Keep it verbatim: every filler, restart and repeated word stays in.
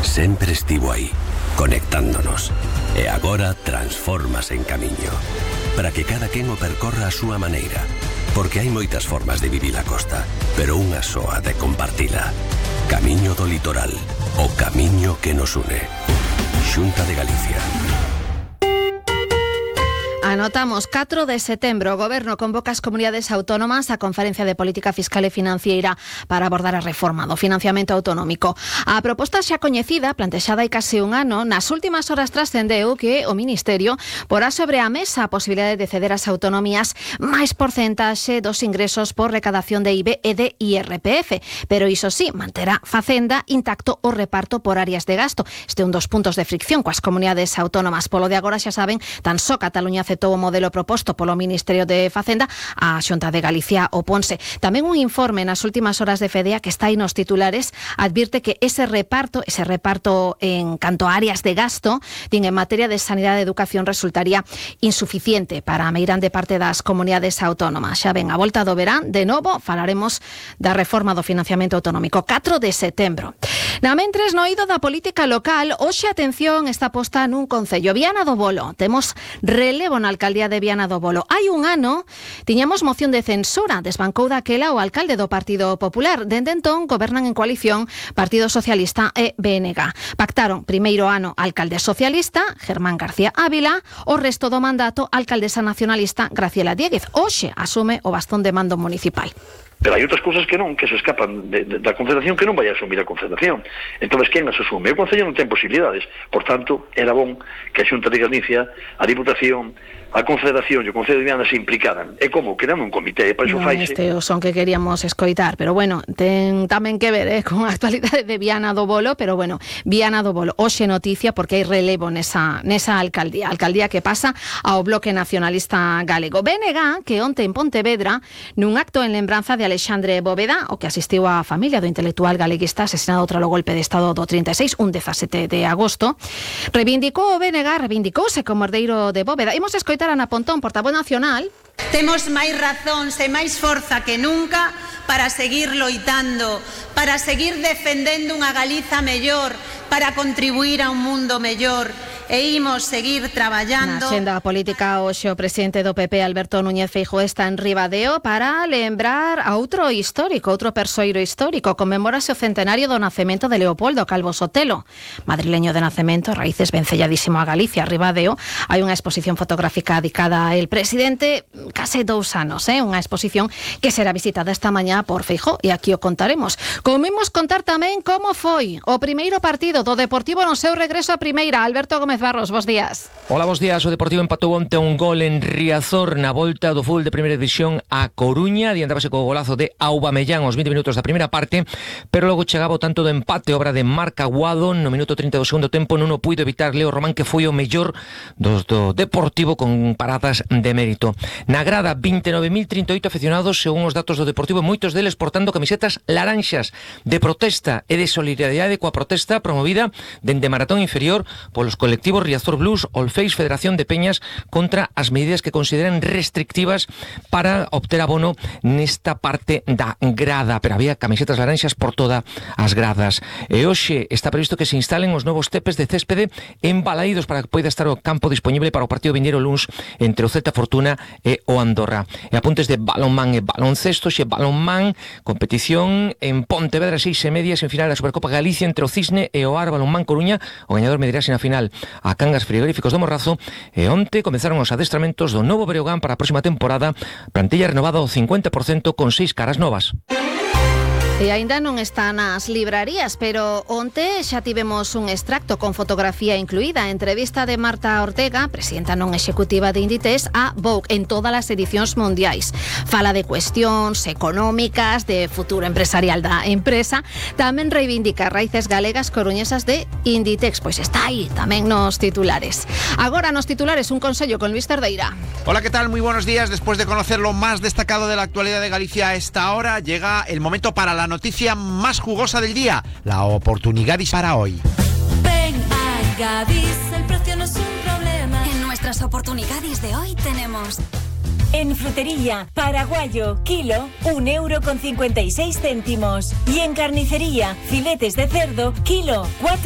sempre estivo aí, conectándonos. E agora transfórmase en camiño, para que cada quen o percorra a súa maneira. Porque hai moitas formas de vivir a costa, pero unha soa de compartila. Camiño do Litoral, o camiño que nos une. Xunta de Galicia. Anotamos catro de setembro. O Goberno convoca as comunidades autónomas á Conferencia de Política Fiscal e Financiera para abordar a reforma do financiamento autonómico. A proposta xa coñecida, plantexada hai case un ano, nas últimas horas trascendeu que o Ministerio porá sobre a mesa a posibilidade de ceder ás autonomías máis porcentaxe dos ingresos por recadación de I V e de I R P F. Pero iso sí, manterá Facenda intacto o reparto por áreas de gasto. Este é un dos puntos de fricción coas comunidades autónomas. Polo de agora, xa saben, tan só Cataluña aceptou o modelo proposto polo Ministerio de Facenda, a Xunta de Galicia oponse. Tamén un informe nas últimas horas de Fedea que está aí nos titulares advirte que ese reparto, ese reparto en canto a áreas de gasto, din en materia de sanidade e educación resultaría insuficiente para a meirande parte das comunidades autónomas. Xa ven, a volta do verán, de novo falaremos da reforma do financiamento autonómico. catro de setembro. Na mentres, no eido da política local, hoxe atención está posta nun concello, Viana do Bolo. Temos relevo na alcaldía de Viana do Bolo. Hai un ano tiñamos moción de censura, desbancou daquela o alcalde do Partido Popular. Dende entón gobernan en coalición Partido Socialista e B N G. Pactaron primeiro ano alcalde socialista, Germán García Ávila, o resto do mandato alcaldesa nacionalista Graciela Diéguez. Hoxe asume o bastón de mando municipal. Pero hai outras cousas que non, que se escapan de, de, da Confederación, que non vai a asumir a Confederación. Entón, quen as asume? O Concello non ten posibilidades. Por tanto, era bon que a Xunta de Galicia, a Diputación, a Confederación e o Concello de Viana se implicaran. É como creando un comité, para iso non, faise. Este o son que queríamos escoitar, pero bueno, ten tamén que ver eh, con a actualidade de Viana do Bolo, pero bueno, Viana do Bolo, hoxe noticia porque hai relevo nesa, nesa alcaldía, alcaldía que pasa ao Bloque Nacionalista Galego. B N G, que onte en Pontevedra, nun acto en lembranza de Alexandre Bóveda, o que asistiu a familia do intelectual galeguista asesinado tralo golpe de Estado do trinta e seis, un dezasete de agosto, reivindicou o B N G, reivindicouse como herdeiro de Bóveda. Imos escoitar a Ana Pontón, portavoz nacional. Temos máis razóns e máis forza que nunca para seguir loitando, para seguir defendendo unha Galiza mellor, para contribuir a un mundo mellor. E imos seguir traballando. Na xenda política, hoxe o presidente do P P, Alberto Núñez Feijóo, está en Ribadeo para lembrar a outro histórico, outro persoeiro histórico. Conmemórase o centenario do nacemento de Leopoldo Calvo Sotelo, madrileño de nacemento, raíces vencelladísimo a Galicia. Ribadeo hai unha exposición fotográfica dedicada a el presidente case dous anos, eh? Unha exposición que será visitada esta mañá por Feijóo e aquí o contaremos. Como imos contar tamén como foi o primeiro partido do Deportivo no seu regreso a primeira. Alberto Gómez Barros, bos días. Hola, bos días. O Deportivo empatou onte un gol en Riazor na volta do fútbol de primeira división a Coruña. Adiantábase co golazo de Aubameyang aos vinte minutos da primeira parte, pero logo chegaba o tanto do empate, obra de Marc Aguado no minuto trinta do segundo tempo. Non o puido evitar Leo Román, que foi o mellor dos do Deportivo con paradas de mérito. Na grada, vinte e nove mil trinta e oito aficionados, según os datos do Deportivo, moitos deles portando camisetas laranxas de protesta e de solidaridade coa protesta promovida dende Maratón Inferior polos colectivos Riazor Blues, Olfeis, Federación de Peñas contra as medidas que consideran restrictivas para obter abono nesta parte da grada, pero había camisetas laranxas por todas as gradas. E hoxe está previsto que se instalen os novos tepes de céspede en Balaídos para que poida estar o campo disponible para o partido vindeiro luns entre o Celta Fortuna e o Andorra. E apuntes de balonmán e baloncesto, xe balonmán, competición en Pontevedra, seis e media, en final da Supercopa Galicia entre o Cisne e o Ar Balonmán Coruña. O gañador medirase na final a Cangas Frigoríficos do Morrazo. E onte comezaron os adestramentos do novo Breogán para a próxima temporada, plantilla renovada ao cincuenta por cento con seis caras novas. E aínda non está nas librarías, pero onte xa tivemos un extracto con fotografía incluída, entrevista de Marta Ortega, presidenta non executiva de Inditex, a Vogue en todas as edicións mundiais. Fala de cuestións económicas, de futuro empresarial da empresa, tamén reivindica raíces galegas coruñesas de Inditex, pois está aí tamén nos titulares. Agora nos titulares un consello con Luis Cerdeira. Hola, ¿qué tal? Muy buenos días. Después de conocer lo más destacado de la actualidad de Galicia a esta hora, llega el momento para la noticia más jugosa del día, la oportunidad para hoy. Ven a Gadis, el precio no es un problema. En nuestras oportunidades de hoy tenemos... En frutería, paraguayo, kilo, un euro con cincuenta y seis céntimos. Y en carnicería, filetes de cerdo, kilo, cuatro